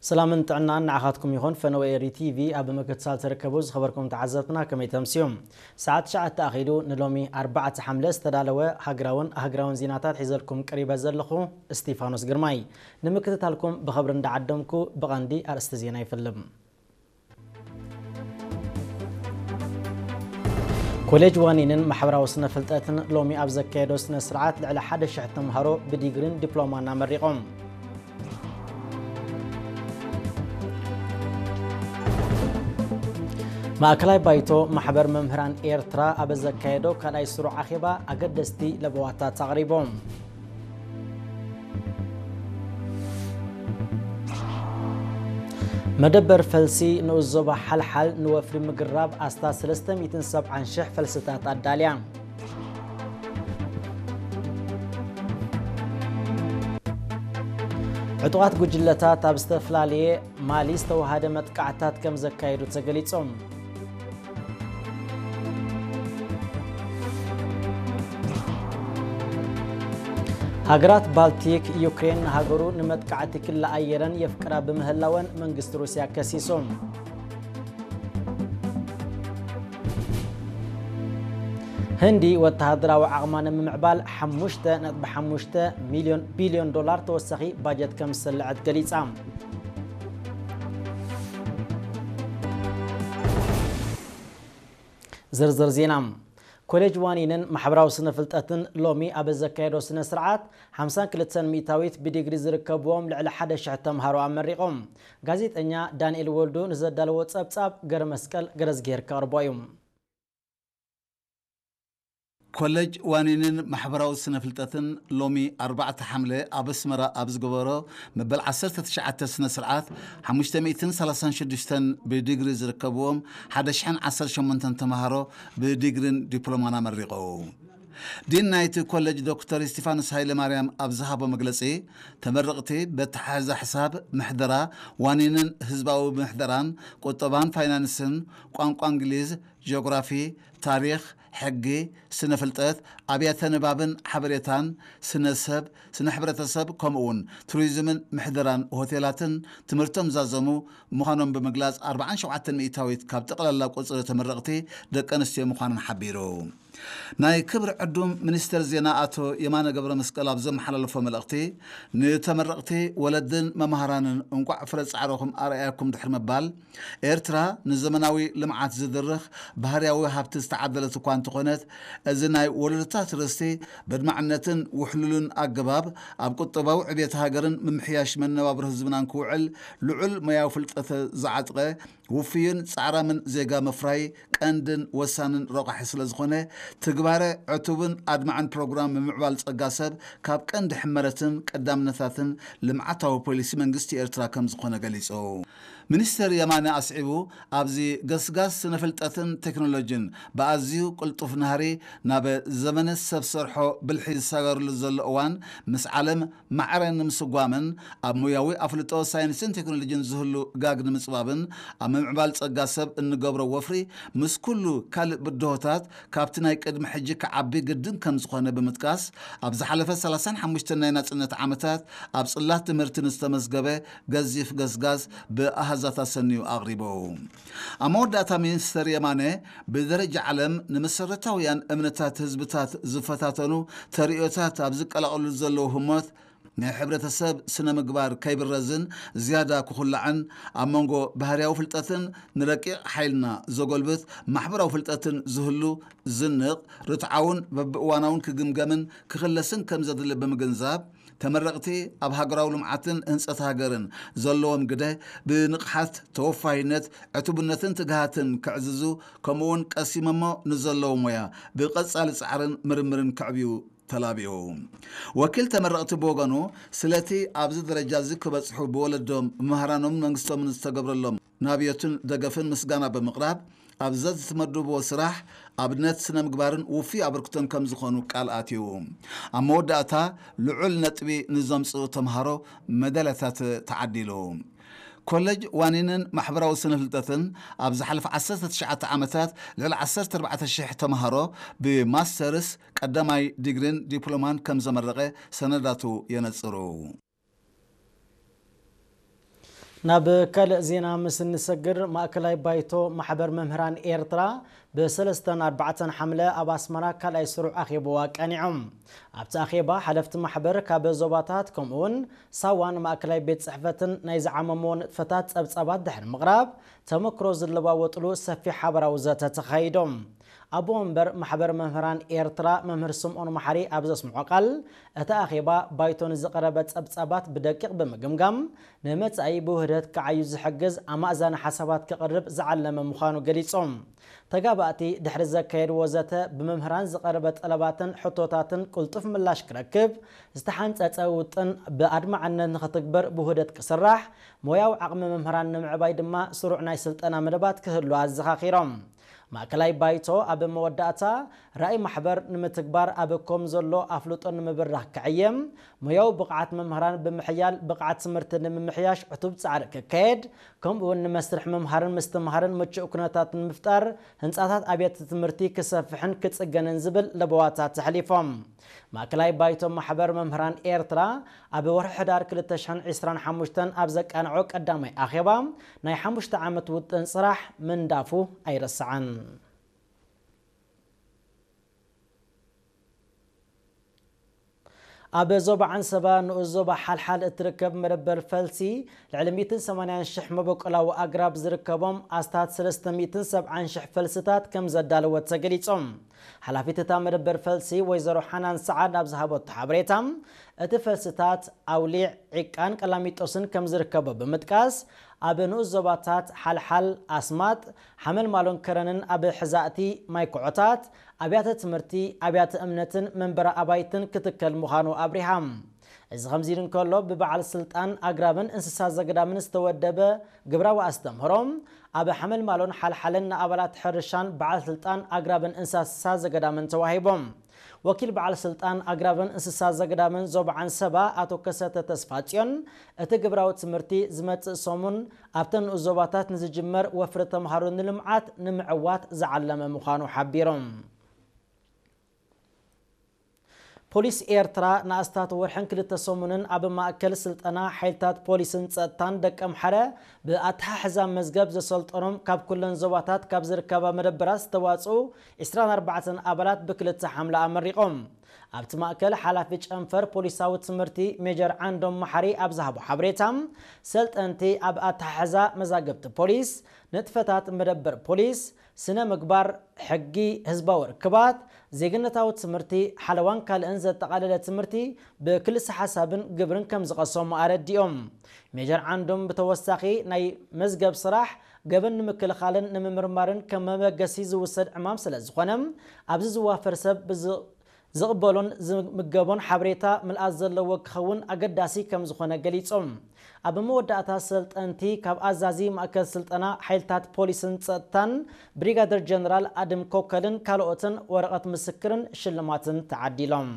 ሰላምን ጥዕናን ንዓኻትኩም ይኹን። ፈነወ ኤሪ ቲቪ ኣብ ምክትታል ትርከቡ ዝኸበርኩም ተዓዘብትና ከመይ ተምስዩ? ሰዓት ትሽዓተ ኣኺሉ ንሎሚ ኣርባዕተ ሓምለ ዝተዳለወ ሃገራውን ኣህጉራውን ዜናታት ሒዘልኩም ቀሪበ ዘለኹ እስቲፋኖስ ግርማይ። ንምክትታልኩም ብኸብሪ እንዳዓደምኩ ብቐንዲ ኣርእስቲ ዜና ይፍልም። ኮሌጅ ዋኒንን ማሕበራዊ ስነ ፍልጠትን ሎሚ ኣብ ዘካየዶ ስነ ስርዓት ልዕሊ ሓደ ሽሕ ተምሃሮ ብዲግሪን ዲፕሎማን ኣመሪቖም። ማእከላይ ባይቶ ማሕበር መምህራን ኤርትራ ኣብ ዘካየዶ ካልኣይ ስሩዕ ኣኼባ ኣገደስቲ ለበዋታት ኣቕሪቦም። መደበር ፈልሲ ንኡስ ዞባ ሓልሓል ንወፍሪ ምግራብ ኣስታ ሰለስተ ሚእትን ሰብዓን ሽሕ ፈልስታት ኣዳልያ። ዕጡቓት ጉጅለታት ኣብ ዝተፈላለየ ማሊ ዝተወሃደ መጥቃዕታት ከም ዘካየዱ ተገሊጾም። ሃገራት ባልቲክ፣ ዩክሬን ንሃገሩ ንመጥቃዕቲ ክላ ኣየረን የፍቅራ ብምህላወን መንግስቲ ሩስያ ከሲሱ። ህንዲ ወተሃደራዊ ዓቕማ ንምምዕባል ሓሙሽተ ነጥቢ ሓሙሽተ ሚልዮን ቢልዮን ዶላር ተወሳኺ ባጀት ከም ዝሰልዐት ገሊጻ። ዝርዝር ዜና። ኮሌጅ ዋኒንን ማሕበራዊ ስነ ፍልጠትን ሎሚ ኣብ ዘካየዶ ስነ ስርዓት ሓምሳን ክልተን ሚእታዊት ብዲግሪ ዝርከብዎም ልዕሊ ሓደ ሽሕ ተምሃሮ ኣመሪቖም። ጋዜጠኛ ዳንኤል ወልዱ ንዘዳለዎ ጸብጻብ ገረ መስቀል ገረዝጌር ከቕርቦ እዩ። ኮሌጅ ዋኒንን ማሕበራዊ ስነ ፍልጠትን ሎሚ ኣርባዕተ ሓምለ ኣብ ኣስመራ ኣብ ዝገበሮ መበል ዓሰርተ ትሽዓተ ስነ ስርዓት ሓሙሽተ ሚእትን ሰላሳን ሽዱሽተን ብዲግሪ ዝርከብዎም ሓደ ሽሕን ዓሰርተ ሸሞንተን ተምሃሮ ብዲግሪን ዲፕሎማን ኣመሪቖም። ዲን ናይቲ ኮሌጅ ዶክተር እስቲፋኖስ ሃይለማርያም ኣብ ዝሃቦ መግለጺ፣ ተመረቕቲ በተሓሕዛ ሕሳብ፣ ምሕደራ፣ ዋኒንን ህዝባዊ ምሕደራን፣ ቁጠባን ፋይናንስን፣ ቋንቋ እንግሊዝ፣ ጂኦግራፊ፣ ታሪኽ፣ ሕጊ፣ ስነ ፍልጠት፣ ኣብያተ ንባብን ሓበሬታን፣ ስነ ሰብ፣ ስነ ሕብረተሰብ፣ ከምኡ እውን ቱሪዝምን ምሕደራን ሆቴላትን ትምህርቶም ዛዘሙ ምዃኖም ብምግላጽ፣ ኣርባዓን ሸውዓተን ሚእታዊት ካብ ጠቕላላ ቁጽሪ ተመረቕቲ ደቂ ኣንስትዮ ምዃነን ሓቢሩ። ናይ ክብሪ ዕዱም ሚኒስተር ዜና ኣቶ የማነ ገብረ መስቀል ኣብ ዘመሓላለፎ መልእኽቲ፣ ንተመረቕቲ ወለድን መምሃራንን እንቋዕ ፍረ ጻዕርኹም ኣርኣያኩም ድሕሪ ምባል፣ ኤርትራ ንዘመናዊ ልምዓት ዝድርኽ ባህርያዊ ሃብቲ ዝተዓደለት እኳ እንተኾነት፣ እዚ ናይ ወለዶታት ርስቲ በድማዕነትን ውሕሉልን ኣገባብ ኣብ ቁጠባዊ ዕብየት ሃገርን ምምሕያሽ መነባብሮ ህዝብናን ክውዕል ልዑል ሞያዊ ፍልጠት ዝዓጥቀ ውፍዩን ጻዕራምን ዜጋ ምፍራይ ቀንድን ወሳንን ረቋሒ ስለ ዝኾነ፣ ትግባረ ዕቱብን ኣድማዕን ፕሮግራም ምምዕባል ጸጋ ሰብ ካብ ቀንዲ ሕመረትን ቀዳምነታትን ልምዓታዊ ፖሊሲ መንግስቲ ኤርትራ ከም ዝኾነ ገሊጹ። ሚኒስተር የማነ ኣስዒቡ፣ ኣብዚ ገስጋስ ስነ ፍልጠትን ቴክኖሎጂን ብኣዝዩ ቅልጡፍ ናህሪ ናብ ዘመነ ሰብ ሰርሖ ብልሒ ዝሰጋገረሉ ዘሎ እዋን፣ ምስ ዓለም ማዕረ ንምስጓምን ኣብ ሞያዊ ኣፍልጦ ሳይንስን ቴክኖሎጂን ዝህሉ ጋግ ንምጽባብን ኣብ ምምዕባል ጸጋ ሰብ እንገብሮ ወፍሪ ምስ ኩሉ ካልእ ብድሆታት ካብቲ ናይ ቅድሚ ሕጂ ክዓቢ ግድን ከም ዝኾነ ብምጥቃስ፣ ኣብ ዝሓለፈ ሰላሳን ሓሙሽተን ናይ ናጽነት ዓመታት ኣብ ጽላት ትምህርቲ ንዝተመዝገበ ገዚፍ ገስጋስ ብኣሃዛት ኣሰንዩ ኣቕሪቡ። ኣብ መወዳእታ ሚኒስተር የማነ ብደረጃ ዓለም ንመሰረታውያን እምነታት ህዝብታት ዝፈታተኑ ተርእዮታት ኣብ ዝቀላቐሉ ዘለዉ ህሞት ናይ ሕብረተሰብ ስነ ምግባር ከይብረዝን ዝያዳ ክኹላዕን ኣብ መንጎ ባህርያዊ ፍልጠትን ንረቂቕ ሓይልና ዘጎልብት ማሕበራዊ ፍልጠትን ዝህሉ ዝንቕ ርትዓውን በብእዋናውን ክግምገምን ክኽለስን ከም ዘድሊ ብምግንዛብ ተመረቕቲ ኣብ ሃገራዊ ልምዓትን ህንጸት ሃገርን ዘለዎም ግደ ብንቕሓት ተወፋይነት ዕቱብነትን ትግሃትን ከዕዝዙ ከምኡውን ቀሲሞሞ ንዘለዉ ሞያ ብቐጻሊ ጻዕርን ምርምርን ከዕብዩ ተላቢኡ። ወኪል ተመረቕቲ ብወገኑ ስለቲ ኣብዚ ደረጃ እዚ ክበጽሑ ብወለዶም መምህራኖምን መንግስቶምን ዝተገብረሎም ናብዮትን ደገፍን ምስጋና ብምቕራብ ኣብዛ ዝተመደብዎ ስራሕ ኣብነት ስነ ምግባርን ውፉይ ኣበርክቶን ከም ዝኾኑ ቃል ኣትዩ። ኣብ መወዳእታ ልዑል ነጥቢ ንዘምጽኡ ተምሃሮ መዳልያታት ተዓዲሉ። ኮለጅ ዋኒንን ማሕበራዊ ስነ ፍልጠትን ኣብ ዝሓለፈ ዓሰርተ ትሽዓተ ዓመታት ልዕሊ ዓሰርተ ኣርባዕተ ሽሕ ተምሃሮ ብማስተርስ ቀዳማይ ዲግሪን ዲፕሎማን ከም ዘመረቐ ሰነዳቱ የነጽሩ። ናብ ካልእ ዜና ምስ እንሰግር፣ ማእከላይ ባይቶ ማሕበር መምህራን ኤርትራ ብሰለስተን ኣርባዕተን ሓምለ ኣብ ኣስመራ ካልኣይ ስሩዕ ኣኼባኡ ኣቃኒዖም። ኣብቲ ኣኼባ ሓለፍቲ ማሕበር ካብ ዞባታት ከምኡውን ሳዋን ማእከላይ ቤት ጽሕፈትን ናይ ዝዓመምዎ ንጥፈታት ጸብጻባት ድሕሪ ምቕራብ፣ ተመክሮ ዝለዋወጥሉ ሰፊሕ ሓበራዊ ዘተ ተኻይዶም። ኣቦ ወንበር ማሕበር መምህራን ኤርትራ መምህር ስምኦን መሓሪ ኣብ ዘስምዖ ቃል፣ እቲ ኣኼባ ባይቶ ንዝቐረበ ጸብጻባት ብደቂቕ ብምግምጋም፣ ንመጻኢ ብውህደት ክዓዩ ዝሕግዝ ኣማእዛኒ ሓሳባት ክቕርብ ዝዓለመ ምዃኑ ገሊጾም። ተጋባእቲ ድሕሪ ዘካየድዎ ዘተ፣ ብመምህራን ዝቐረበ ጠለባትን ሕቶታትን ቅልጡፍ ምላሽ ክረክብ፣ ዝተሓንጸጸ ውጥን ብኣድማዕነት ንኽትግበር ብውህደት ክስራሕ፣ ሞያዊ ዓቕሚ መምህራን ንምዕባይ ድማ ስሩዕ ናይ ስልጠና መደባት ክህሉ ኣዘኻኺሮም። ማእከላይ ባይቶ ኣብ መወዳእታ፣ ራእይ ማሕበር ንምትግባር ኣብ ኮም ዘሎ ኣፍልጦ ንምብራኽ ክዕየም፣ ሞያዊ ብቕዓት መምህራን ብምሕያል ብቕዓት ትምህርቲ ንምምሕያሽ ዕቱብ ጻዕሪ ክካየድ፣ ከምኡ እውን ንመስርሕ ምምሃርን ምስትምሃርን ምቹእ ኩነታት ንምፍጣር፣ ህንጻታት ኣብያተ ትምህርቲ ክሰፍሕን ክጽገንን ዝብል ለበዋታት ኣሕሊፎም። ማእከላይ ባይቶ ማሕበር መምህራን ኤርትራ ኣብ ወርሒ ሕዳር ክልተ ሽሕን ዕስራን ሓሙሽተን ኣብ ዘቃንዖ ቀዳማይ ኣኼባ፣ ናይ ሓሙሽተ ዓመት ውጥን ስራሕ ምንዳፉ ኣይረስዓን። ኣብ ዞባ ዓንሰባ ንኡስ ዞባ ሓልሓል እትርከብ መደበር ፈልሲ፣ ልዕሊ ሚእትን ሰማንያን ሽሕ መበቆላዊ ኣግራብ ዝርከቦም ኣስታት ሰለስተ ሚእትን ሰብዓን ሽሕ ፈልስታት ከም ዘዳለወት ተገሊጾም። ሓላፊት እታ መደበር ፈልሲ ወይዘሮ ሓናን ሰዓድ ኣብ ዝሃበቶ ሓበሬታ፣ እቲ ፈልስታት ኣውሊዕ፣ ዒቃን ቀላሚጦስን ከም ዝርከቦ ብምጥቃስ፣ ኣብ ንኡስ ዞባታት ሓልሓል፣ ኣስማጥ፣ ሓመልማሎን ከረንን ኣብ ሕዛእቲ ማይ ኩዖታት፣ ኣብያተ ትምህርቲ፣ ኣብያተ እምነትን መንበሪ ኣባይትን ክትከል ምዃኑ ኣብሪሃ። እዚ ከምዚ ኢሉ እንከሎ፣ ብበዓል ስልጣን ኣግራብን እንስሳ ዘገዳምን ዝተወደበ ግብራዊ ኣስተምህሮ፣ ኣብ ሓመልማሎን ሓልሓልን ንኣባላት ሕርሻን በዓል ስልጣን ኣግራብን እንስሳ ዘገዳምን ተዋሂቦም። ወኪል በዓል ስልጣን ኣግራብን እንስሳ ዘገዳምን ዞባ ዓንሰባ ኣቶ ከሰተ ተስፋጽዮን፣ እቲ ግብራዊ ትምህርቲ ዝመጽእ ሰሙን ኣብተን ንኡስ ዞባታት ንዝጅመር ወፍሪ ተምሃሮ ንልምዓት ንምዕዋት ዝዓለመ ምዃኑ ሓቢሮም። ፖሊስ ኤርትራ ንኣስታት ወርሕን ክልተ ሰሙንን ኣብ ማእከል ስልጠና ሓይልታት ፖሊስን ጸጥታን ደቀምሓረ ብኣተሓሕዛ መዝገብ ዘሰልጠኖም ካብ ኩለን ዞባታት ካብ ዝርከባ መደበራት ዝተዋጽኡ ዕስራን ኣርባዕተን ኣባላት ብክልተ ሓምለ ኣመሪቖም። ኣብቲ ማእከል ሓላፊ ጨንፈር ፖሊሳዊ ትምህርቲ ሜጀር ዓንዶም መሓሪ ኣብ ዝሃቦ ሓበሬታ፣ ሰልጠንቲ ኣብ ኣተሓሕዛ መዛግብቲ ፖሊስ፣ ንጥፈታት መደበር ፖሊስ፣ ስነ ምግባር፣ ሕጊ፣ ህዝባዊ ርክባት፣ ዜግነታዊ ትምህርቲ፣ ሓለዋን ካልእን ዘጠቓለለ ትምህርቲ ብክልሰ ሓሳብን ግብርን ከም ዝቐሰሙ ኣረዲኦም። ሜጀር ዓንዶም ብተወሳኺ፣ ናይ መዝገብ ስራሕ ገበን ንምክልኻልን ንምምርማርን ከም መበገሲ ዝውሰድ ዕማም ስለ ዝኾነ፣ ኣብዚ ዝዋፈር ሰብ ብዝ-፣ ዝቕበሎን ዝምገቦን ሓበሬታ ምልኣት ዘለዎ ክኸውን ኣገዳሲ ከም ዝኾነ ገሊጾም። ኣብ መወዳእታ፣ ሰልጠንቲ ካብ ኣዛዚ ማእከል ስልጠና ሓይልታት ፖሊስን ጸጥታን ብሪጋደር ጀነራል ኣድም ኮከልን ካልኦትን ወረቐት ምስክርን ሽልማትን ተዓዲሎም።